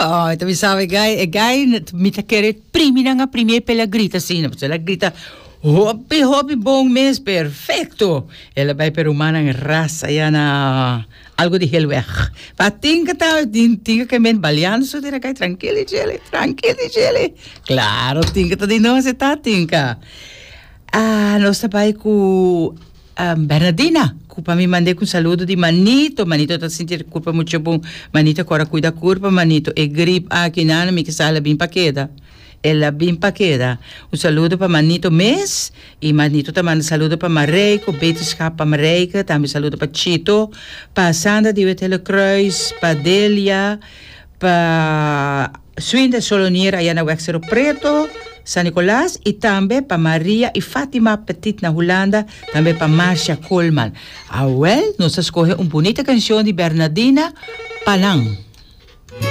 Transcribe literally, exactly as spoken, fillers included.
Oh, anto mi sabi, gai, gai, mi ta kere primi nan a primi p'e la grita asina, el a grita hopi hopi bon mes, perfecto. El a bai pa rumannan ras aya na algo di Hillweg. Pa tinka ta tin tinka ke men baliando so tira kai trankil chele, trankil chele. Claro, tinka ta di nos ta tinka. Ah, nos ta bai ku um, Bernardina, ku pa mi mand'é ku saludo di Manito. Manito ta sinti kurpa mucho bon. Manito, kore kuida kurpa, Manito. E grip aki nana mi ke sa el a bin pa keda. El a bin pa keda. Un saludo pa Manito mes. I Manito ta manda saludo pa Mareiko, beterschap pa Mareike. Tambe saludo pa Chito, pa Sandra di Wetele Kruis, pa Delia, pa Swinda Solonier aya na Wexero Preto, San Nicolas, i tambe pa Maria i Fatima Petit na Hulanda, tambe pa Marcia Coleman. Ah, wel, nos a skohe un bunita kanshon di Bernardina pa nan.